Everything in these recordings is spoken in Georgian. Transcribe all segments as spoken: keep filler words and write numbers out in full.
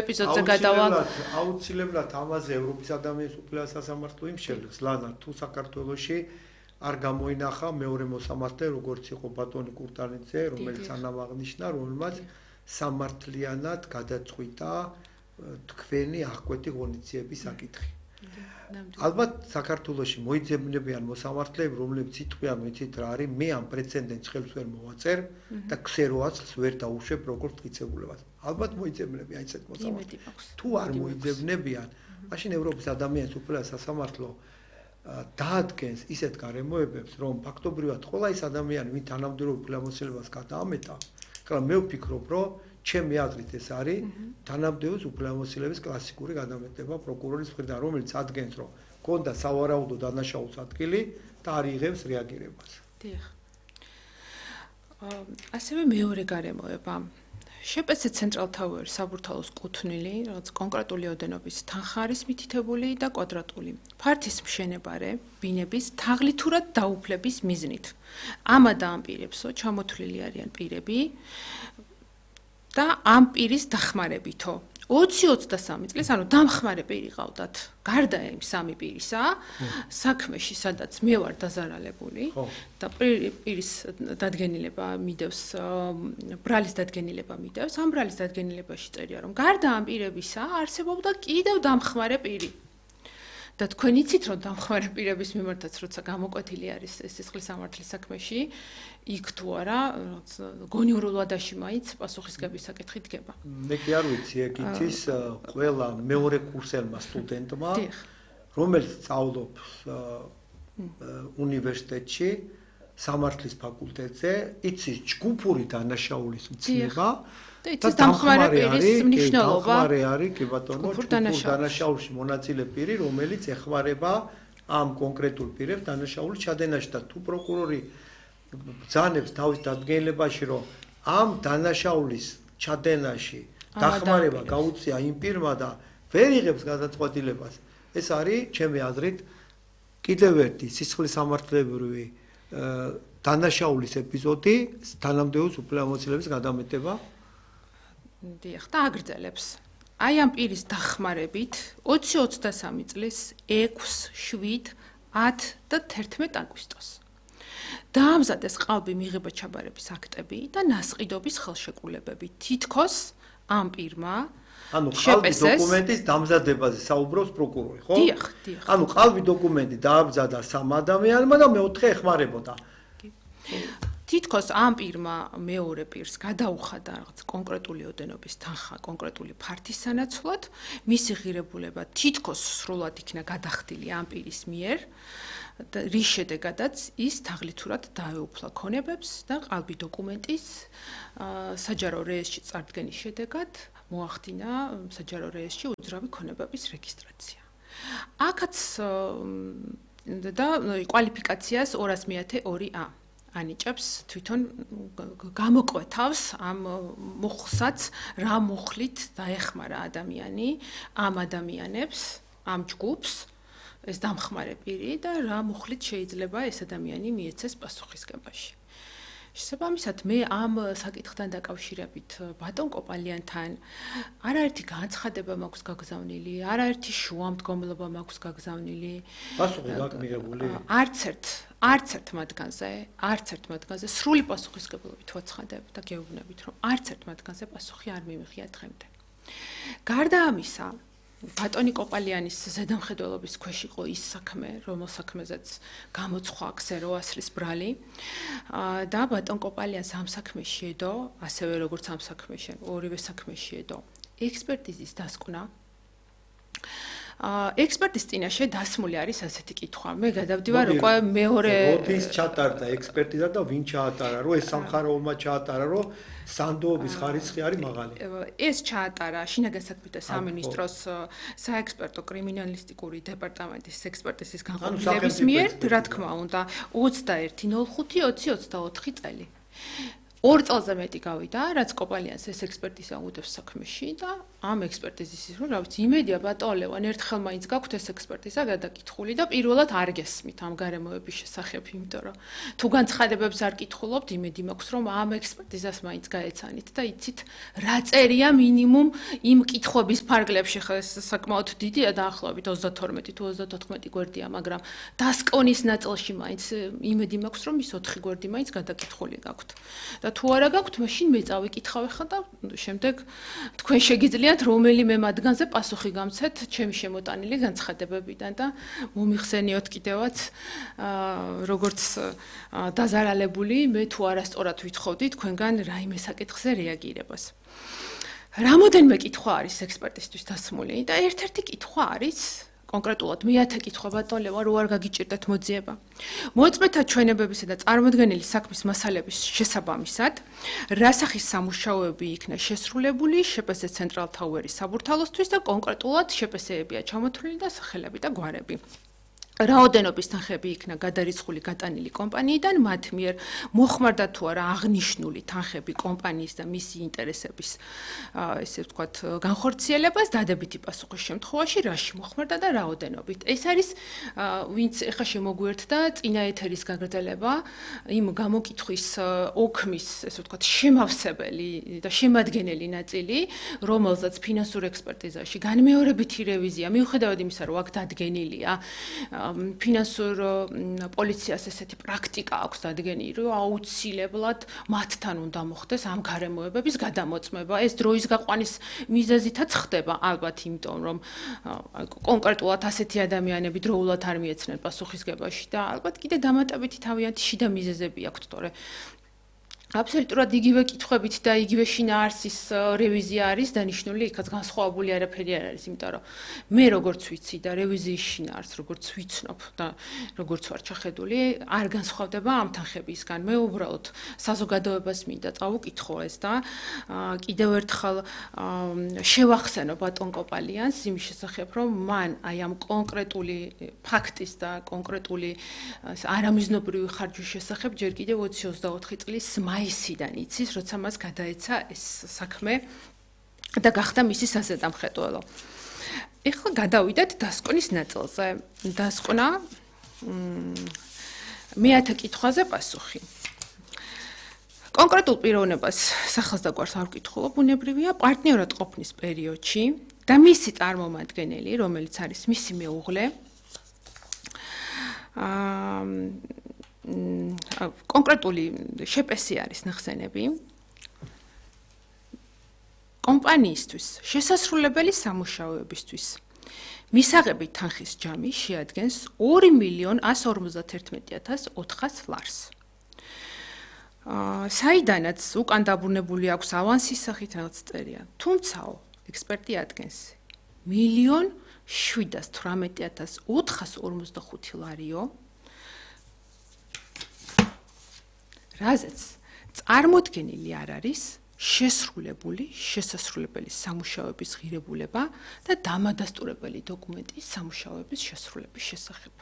ეპიზოდზე გადავა. აუცილებლად ამაზე ევროპის ადამიანის უფლება სასამართლო იმშევლებს, ლანა თუ საქართველოში არ გამოინახა მეორე მოსამართლე, როგორც იყო ბატონი კურტანიძე, რომელიც ანამ აღნიშნა, რომელმაც სამართლიანად გადაწყვიტა თქვენი აღკვეთი ღონისძიების საკითხი. ალბათ საქართველოში მოიძებნებიან მოსამართლეები, რომლებიც იტყვიან, ვიცით რა არის, მე ამ პრეცედენტს ხელს ვერ მოვაწერ და ქსეროაც ვერ დაუშვებ როგორც მტკიცებულებას. ალბათ მოიძებნებიან ისეთ მოსამართლეებს. თუ არ მოიძებნებიან, მაშინ ევროპის ადამიანის უფლება სასამართლო დაადგენს ისეთ გარემოებებს, რომ ფაქტობრივად ყველა ის ადამიანი, ვინ თანამდებობ უფლებამოსილებას გადაამეტა, ხლა მე ვფიქრობ, რომ ჩემი აზრით ეს არის თანამდებობის უფლებამოსილების კლასიკური გადამეტება პროკურორის მხრიდან, რომელიც ადგენს, რომ გონდა სავარაუდო დანაშაულის ადგილი და არ იღებს რეაგირებას. დიახ. ასევე მეორე გარემოება. შპს ცენტრალთავარი საბურთალოს კუთვნილი, რაღაც კონკრეტული ოდენობის თანხა არის მითითებული და კვადრატული. ფართის მშენებარე ბინების თაღლითურად დაუფლების მიზნით. ამადა ამ პირებსო ჩამოთვლილი არიან პირები და ამ პირის დახმარებითო. ოცი ოცდასამი წლის, ანუ დამხმარე პირი ყავდათ. გარდა იმ სამი პირისა, საქმეში, სადაც მე ვარ დაზარალებული და პირის დადგენილება მიდევს, ბრალის დადგენილება მიდევს, ამ ბრალის დადგენილებაში წერია, რომ გარდა ამ პირებისა არსებობდა კიდევ დამხმარე პირი. და თქვენ იცით, რომ დამხმარე პირების მიმართაც როცა გამოკვეთილი არის ეს სისხლის სამართლის საქმეში, იქ თუ არა, გონიურულ ვადაში მაინც პასუხისგების საკითხი დგება. მე კი არ ვიცი, ეგ იცის ყველა მეორე კურსელმა სტუდენტმა, რომელიც სწავლობს უნივერსიტეტში, სამართლის ფაკულტეტზე, იცის ჯგუფური დანაშაულის მცნება. და იცის დამხმარე პირის მნიშვნელობა. დამხმარე არის, კი ბატონო, ჯგუფურ დანაშაულში მონაწილე პირი, რომელიც ეხმარება ამ კონკრეტულ პირებს დანაშაულის ჩადენაში და თუ პროკურორი ბრძანებს თავის დადგენილებაში, რომ ამ დანაშაულის ჩადენაში დახმარება გაუწია იმ პირმა და ვერ იღებს გადაწყვეტილებას, ეს არის, ჩემი აზრით, კიდევ ერთი სისხლის სამართლებრივი დანაშაულის ეპიზოდი, თანამდებობის უფლებამოსილების გადამეტება. დიახ, და აგრძელებს. აი ამ პირის დახმარებით ოცი ოცდასამი წლის ექვსი, შვიდი, ათი და თერთმეტი აგვისტოს დაამზადეს ყალბი მიღება ჩაბარების აქტები და ნასყიდობის ხელშეკრულებები. თითქოს ამ პირმა ანუ ყალბი დოკუმენტის დამზადებაზე საუბრობს პროკურორი, ხო? დიახ, დიახ. ანუ ყალბი დოკუმენტი დაამზადა სამ ადამიანმა და მეოთხე ეხმარებოდა. თითქოს ამ პირმა მეორე პირს გადაუხადა რაღაც კონკრეტული ოდენობის თანხა, კონკრეტული ფართის სანაცვლოდ, მისი ღირებულება თითქოს სრულად იქნა გადახდილი ამ პირის მიერ, რის შედეგადაც ის თაღლითურად დაეუფლა ქონებებს და ყალბი დოკუმენტის საჯარო რეესტრში წარდგენის შედეგად მოახდინა საჯარო რეესტრში უძრავი ქონებების რეგისტრაცია. აქაც და კვალიფიკაციას ორას მეათე ორი ა ანიჭებს თვითონ გამოკვეთავს ამ მუხლსაც რა მუხლით დაეხმარა ადამიანი ამ ადამიანებს, ამ ჯგუფს, ეს დამხმარე პირი და რა მუხლით შეიძლება ეს ადამიანი მიეცეს პასუხისგებაში. შესაბამისად, მე ამ საკითხთან დაკავშირებით ბატონ კოპალიანთან არაერთი განცხადება მაქვს გაგზავნილი, არაერთი შუამდგომლობა მაქვს გაგზავნილი. პასუხი გაქვს მიღებული? არც ერთ არც ერთ მათგანზე, არც ერთ მათგანზე სრული პასუხისგებლობით ვაცხადებ და გეუბნებით, რომ არც ერთ მათგანზე პასუხი არ მიმიღია დღემდე. გარდა ამისა, ბატონი კოპალიანის ზედამხედველობის ქვეშ იყო ის საქმე, რომელ საქმეზეც გამოცხვა ქსეროასრის ბრალი და ბატონ კოპალიანს ამ საქმეში ედო, ასევე როგორც ამ საქმეში, ორივე საქმეში ედო ექსპერტიზის დასკვნა. ექსპერტის წინაშე დასმული არის ასეთი კითხვა. მე გადავდივარ უკვე მეორე როდის ჩატარდა ექსპერტიზა და ვინ ჩაატარა, რომ ეს სამხაროულმა ჩაატარა, რომ სანდოობის ხარისხი არის მაღალი. ეს ჩაატარა შინაგან საქმეთა სამინისტროს საექსპერტო კრიმინალისტიკური დეპარტამენტის ექსპერტიზის განყოფილების მიერ, რა თქმა უნდა, ოცდაერთი ნოლ ხუთი ოცი ოცდაოთხი წელი. ორ წელზე მეტი გავიდა, რაც კოპალიანს ეს ექსპერტიზა უდევს საქმეში და ამ ექსპერტიზის რომ რა ვიცი იმედია ბატონო ლევან ერთხელ მაინც გაქვთ ეს ექსპერტიზა გადაკითხული და პირველად არ გესმით ამ გარემოების შესახებ იმიტომ რომ თუ განცხადებებს არ კითხულობთ იმედი მაქვს რომ ამ ექსპერტიზას მაინც გაეცანით და იცით რა წერია მინიმუმ იმ კითხვების ფარგლებში ხა ეს საკმაოდ დიდია დაახლოებით ოცდათორმეტი თუ ოცდათოთხმეტი გვერდია მაგრამ დასკონის ნაწილში მაინც იმედი მაქვს რომ ის ოთხი გვერდი მაინც გადაკითხული გაქვთ და თუ არა გაქვთ მაშინ მე წავიკითხავ ხა და შემდეგ თქვენ შეგიძლიათ რომელიმე მათგანზე პასუხი გამცეთ ჩემი შემოტანილი განცხადებებიდან და მომიხსენიოთ კიდევაც როგორც დაზარალებული მე თუ არასწორად ვითხოვდი თქვენგან რაიმე საკითხზე რეაგირებას. რამოდენმე კითხვა არის ექსპერტისთვის დასმული და ერთ-ერთი კითხვა არის კონკრეტულად მეათე კითხვა ბატონო ლევან რო არ გაგიჭირდეთ მოძიება. მოწმეთა ჩვენებებისა და წარმოდგენილი საქმის მასალების შესაბამისად, რა სახის სამუშაოები იქნა შესრულებული შპს ცენტრალ თაუერის საბურთალოსთვის და კონკრეტულად შპს-ებია ჩამოთვლილი და სახელები და გვარები. რაოდენობის თანხები იქნა გადარიცხული გატანილი კომპანიიდან, მათ მიერ მოხმარდა თუ არა აღნიშნული თანხები კომპანიის და მისი ინტერესების ესე ვთქვათ განხორციელებას დადებითი პასუხის შემთხვევაში რაში მოხმარდა და რაოდენობით. ეს არის ვინც ეხა შემოგვიერთდა წინა ეთერის გაგრძელება იმ გამოკითხვის ოქმის ესე ვთქვათ შემავსებელი და შემადგენელი ნაწილი, რომელზეც ფინანსურ ექსპერტიზაში განმეორებითი რევიზია მიუხედავად იმისა, რომ აქ დადგენილია ფინანსურ პოლიციას ესეთი პრაქტიკა აქვს დადგენილი, რომ აუცილებლად მათთან უნდა მოხდეს ამ გარემოებების გადამოწმება. ეს დროის გაყვანის მიზეზითაც ხდება, ალბათ იმიტომ, რომ კონკრეტულად ასეთი ადამიანები დროულად არ მიეცნენ პასუხისგებაში და ალბათ კიდე დამატებითი თავიანთი შიდა მიზეზები აქვთ, თორე აბსოლუტურად იგივე კითხვებით და იგივე შინაარსის რევიზია არის დანიშნული, იქაც განსხვავებული არაფერი არ არის, იმიტომ რომ მე როგორც ვიცი და რევიზიის შინაარსს როგორც ვიცნობ და როგორც ვარ ჩახედული, არ განსხვავდება ამ თანხებისგან. მე უბრალოდ საზოგადოებას მინდა წავუკითხო ეს და კიდევ ერთხელ შევახსენო ბატონ კოპალიანს იმის შესახებ, რომ მან აი ამ კონკრეტული ფაქტის და კონკრეტული არამიზნობრივი ხარჯვის შესახებ ჯერ კიდევ ოცი ოცდაოთხი წლის მაისიდან იცის, როცა მას გადაეცა ეს საქმე და გახდა მისი საზედამხედველო. ეხლა გადავიდეთ დასკვნის ნაწილზე. დასკვნა მეათე კითხვაზე პასუხი. კონკრეტულ პიროვნებას სახელს და გვარს არ ვკითხულობ, ბუნებრივია პარტნიორად ყოფნის პერიოდში და მისი წარმომადგენელი, რომელიც არის მისი მეუღლე, კონკრეტული შპს-ი არის ნახსენები კომპანიისთვის შესასრულებელი სამუშაოებისთვის მისაღები თანხის ჯამი შეადგენს ორი მილიონ ასი ორმოცდაერთმეტი ათას ოთხას ლარს. საიდანაც უკან დაბრუნებული აქვს ავანსის სახით რაღაც წერია. თუმცაო ექსპერტი ადგენს მილიონ შვიდას თვრამეტი ათას ოთხას ორმოცდახუთი ლარიო რაზეც წარმოდგენილი არ არის შესრულებული შესასრულებელი სამუშაოების ღირებულება და დამადასტურებელი დოკუმენტის სამუშაოების შესრულების შესახებ.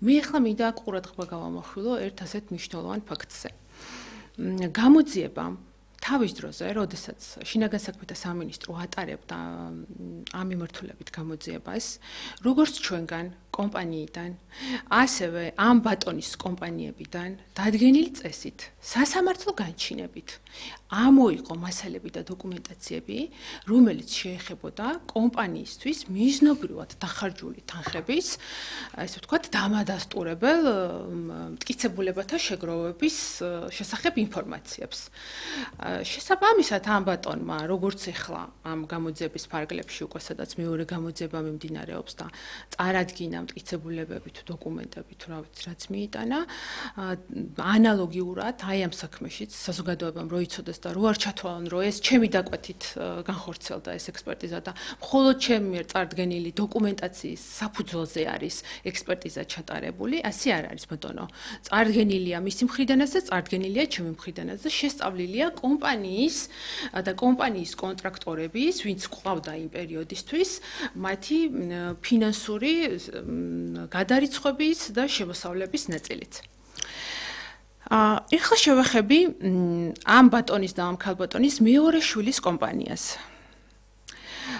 მე ახლა მინდა ყურადღება გავამახვილო ერთ ასეთ მნიშვნელოვან ფაქტზე. გამოძიება თავის დროზე, როდესაც შინაგან საქმეთა სამინისტრო ატარებდა ამ მიმართულებით გამოძიებას, როგორც ჩვენგან კომპანიიდან, ასევე ამ ბატონის კომპანიებიდან დადგენილი წესით, სასამართლო განჩინებით ამოიყო მასალები და დოკუმენტაციები, რომელიც შეეხებოდა კომპანიისთვის მიზნობრივად დახარჯული თანხების, ესე ვთქვათ, დამადასტურებელ მტკიცებულებათა შეგროვების შესახებ ინფორმაციებს. შესაბამისად ამ ბატონმა, როგორც ეხლა ამ გამოძიების ფარგლებში უკვე სადაც მეორე გამოძიება მიმდინარეობს და წარადგინა მტკიცებულებები თუ დოკუმენტები თუ რა ვიცი რაც მიიტანა, ანალოგიურად აი ამ საქმეშიც საზოგადოებამ როიცოდეს და რო არ ჩათვალონ, რომ ეს ჩემი დაკვეთით განხორციელდა ეს ექსპერტიზა და მხოლოდ ჩემი მიერ წარდგენილი დოკუმენტაციის საფუძველზე არის ექსპერტიზა ჩატარებული, ასე არ არის ბატონო. წარდგენილია მისი მხრიდანაც და წარდგენილია ჩემი მხრიდანაც და შესწავლილია კომპანიის და კომპანიის კონტრაქტორების, ვინც ყავდა იმ პერიოდისთვის, მათი ფინანსური გადარიცხვების და შემოსავლების ნაწილიც. ეხლა შევეხები ამ ბატონის და ამ ქალბატონის მეორე შვილის კომპანიას.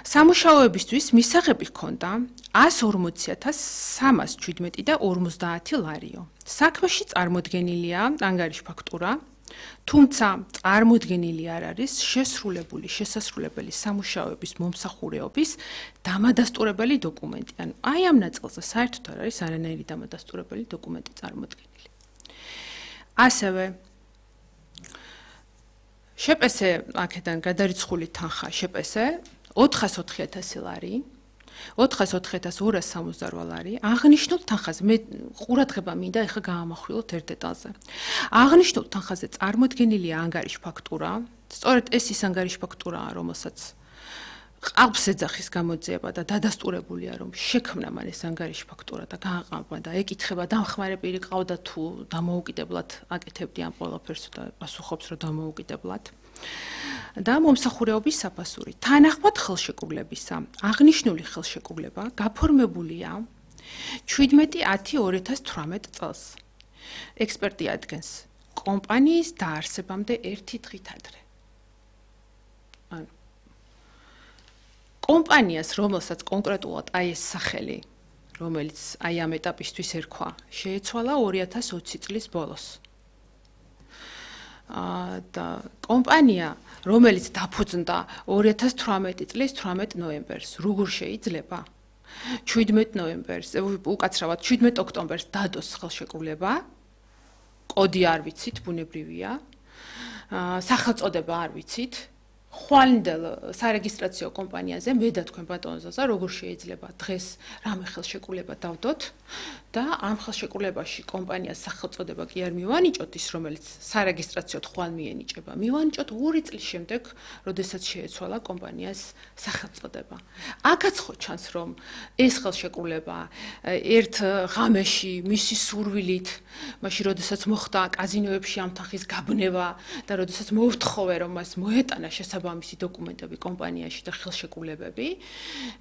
სამუშაოებისთვის მისაღები ჰქონდა ას ორმოცი ათას სამას შვიდმეტი და ორმოცდაათი ლარიო. საქმეში წარმოდგენილია ანგარიშ ფაქტურა, თუმცა წარმოდგენილი არ არის შესრულებული შესასრულებელი სამუშაოების მომსახურეობის დამადასტურებელი დოკუმენტი. ანუ აი ამ ნაწილზე საერთოდ არ არის არანაირი დამადასტურებელი დოკუმენტი წარმოდგენილი. ასევე შეპესე აქედან გადარიცხული თანხა შეპესე ოთხას ოთხი ათასი ლარი, ოთხას ოთხი ათას ორას სამოცდარვა ლარი. აღნიშნულ თანხაზე მე ყურადღება მინდა ეხლა გაამახვილოთ ერთ დეტალზე. აღნიშნულ თანხაზე წარმოდგენილია ანგარიშ ფაქტურა, სწორედ ეს ის ანგარიშ ფაქტურაა, რომელსაც ყალბს ეძახის გამოძიება და დადასტურებულია, რომ შექმნა მან ეს ანგარიშ ფაქტურა და გააყალბა და ეკითხება დამხმარე პირი ყავდა თუ დამოუკიდებლად აკეთებდი ამ ყველაფერს და პასუხობს რომ დამოუკიდებლად. და მომსახურეობის საფასური. თანახმად ხელშეკრულებისა, აღნიშნული ხელშეკრულება გაფორმებულია შვიდმეტი ათი ორი ათას თვრამეტ წელს. ექსპერტი ადგენს კომპანიის დაარსებამდე ერთი დღით ადრე. ანუ კომპანიას, რომელსაც კონკრეტულად აი ეს სახელი, რომელიც აი ამ ეტაპისთვის ერქვა, შეეცვალა ორი ათას ოცი წლის ბოლოს. და კომპანია, რომელიც დაფუძნდა ორი ათას თვრამეტი წლის თვრამეტ ნოემბერს, როგორ შეიძლება შვიდმეტ ნოემბერს, უკაცრავად შვიდმეტ ოქტომბერს დადოს ხელშეკრულება, კოდი არ ვიცით, ბუნებრივია, სახელწოდება არ ვიცით, ხვალინდელ სარეგისტრაციო კომპანიაზე მე და თქვენ ბატონ ზაზა როგორ შეიძლება დღეს რამე ხელშეკრულება დავდოთ და ამ ხელშეკრულებაში კომპანიას სახელწოდება კი არ მივანიჭოთ ის, რომელიც სარეგისტრაციოდ ხვალ მიენიჭება. მივანიჭოთ ორი წლის შემდეგ, როდესაც შეეცვალა კომპანიას სახელწოდება. აქაც ხო ჩანს, რომ ეს ხელშეკრულება ერთ ღამეში მისი სურვილით, მაშინ როდესაც მოხდა კაზინოებში ამ თანხის გაბნება და როდესაც მოვთხოვე, რომ მას მოეტანა შესაბამისი დოკუმენტები კომპანიაში და ხელშეკრულებები,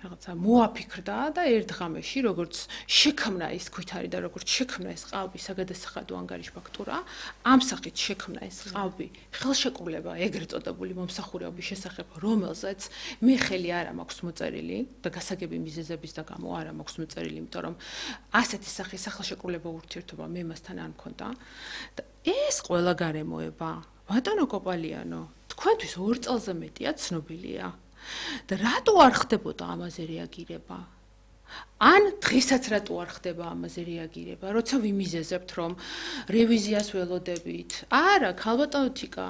რაღაცა მოაფიქრდა და ერთ ღამეში, როგორც შექმნა ის ქვითარი და როგორც შექმნა ეს ყალბი საგადასახადო ანგარიშ ფაქტურა, ამ სახით შექმნა ეს ყალბი ხელშეკრულება ეგრეთ წოდებული მომსახურეობის შესახებ, რომელზეც მე ხელი არ მაქვს მოწერილი და გასაგები მიზეზების და გამო არ მაქვს მოწერილი, იმიტომ რომ ასეთი სახის სახელშეკრულება ურთიერთობა მე მასთან არ მქონდა და ეს ყველა გარემოება, ბატონო კოპალიანო, თქვენთვის ორ წელზე მეტია ცნობილია და რატო არ ხდებოდა ამაზე რეაგირება? ან დღესაც რატო არ ხდება ამაზე რეაგირება? როცა ვიმიზეზებთ, რომ რევიზიას ველოდებით. არა, ქალბატონო თიკა,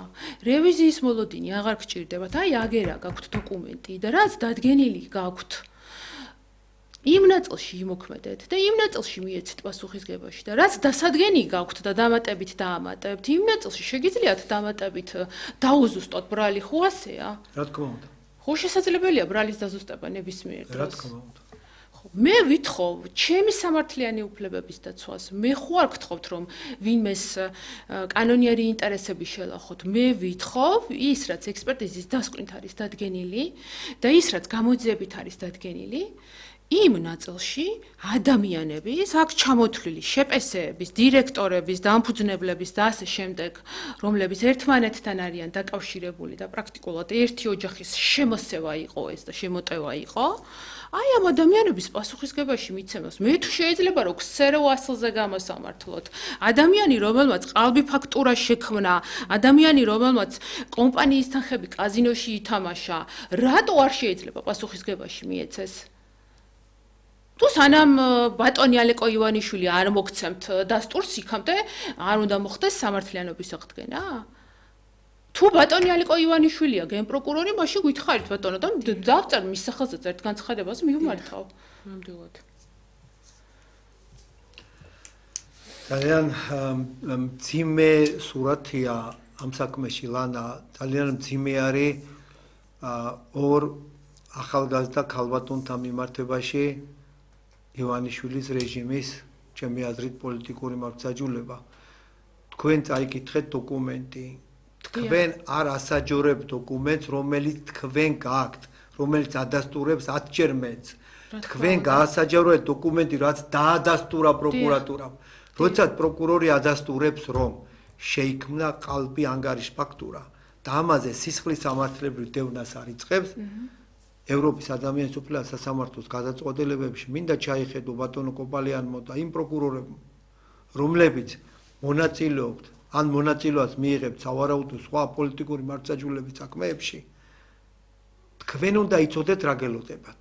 რევიზიის მოლოდინი აღარ გჭირდებათ. აი აგერა გაქვთ დოკუმენტი და რაც დადგენილი გაქვთ იმ ნაწილში იმოქმედეთ და იმ ნაწილში მიეცეთ პასუხისგებაში და რაც დასადგენი გაქვთ და დამატებით დაამატებთ, იმ ნაწილში შეგიძლიათ დამატებით დაუზუსტოთ ბრალი, ხო ასეა? რა თქმა უნდა. ხო შესაძლებელია ბრალის დაზუსტება ნებისმიერ დროს. რა თქმა უნდა. მე ვითხოვ ჩემი სამართლიანი უფლებების დაცვას. მე ხო არ გთხოვთ, რომ ვინმეს კანონიერი ინტერესები შელახოთ. მე ვითხოვ ის, რაც ექსპერტიზის დასკვნით არის დადგენილი და ის, რაც გამოძიებით არის დადგენილი, იმ ნაწილში ადამიანების აქ ჩამოთვლილი შეპესეების, დირექტორების, დამფუძნებლების და ასე შემდეგ, რომლებიც ერთმანეთთან არიან დაკავშირებული და პრაქტიკულად ერთი ოჯახის შემოსევა იყო ეს და შემოტევა იყო, აი ამ ადამიანების პასუხისგებაში მიცემას მე თუ შეიძლება რომ ქსერო ასლზე გამოსამართლოთ. ადამიანი, რომელმაც ყალბი ფაქტურა შექმნა, ადამიანი, რომელმაც კომპანიის თანხები კაზინოში ითამაშა, რატო არ შეიძლება პასუხისგებაში მიეცეს? თუ სანამ ბატონი ალეკო ივანიშვილი არ მოგცემთ დასტურს იქამდე არ უნდა მოხდეს სამართლიანობის აღდგენა? თუ ბატონი ალეკო ივანიშვილია გენპროკურორი, მაშინ გითხარით ბატონო და დავწერ მის სახელზეც ერთ განცხადებას მივმართავ. ნამდვილად. ძალიან მძიმე სურათია ამ საქმეში, ლანა, ძალიან მძიმე არის ორ ახალგაზრდა ქალბატონთან მიმართებაში ივანიშვილის რეჟიმის, ჩემი აზრით, პოლიტიკური მართლმსაჯულება. თქვენ წაიკითხეთ დოკუმენტი. თქვენ არ ასაჯორებთ დოკუმენტს, რომელიც თქვენ გააქვთ, რომელიც ადასტურებს ათჯერ მეც. თქვენ გაასაჯაროეთ დოკუმენტი, რაც დაადასტურა პროკურატურამ. როცა პროკურორი ადასტურებს, რომ შეიქმნა ყალბი ანგარიშ ფაქტურა და ამაზე სისხლის სამართლებრივ დევნას არ იწყებს, ევროპის ადამიანის უფლებათა სასამართლოს გადაწყვეტილებებში მინდა ჩაიხედო ბატონო კოპალიანმა და იმ პროკურორებმა, რომლებიც მონაწილეობთ ან მონაწილეობას მიიღებთ სავარაუდო სხვა პოლიტიკური მართლმსაჯულების საქმეებში, თქვენ უნდა იცოდეთ რა გელოდებათ.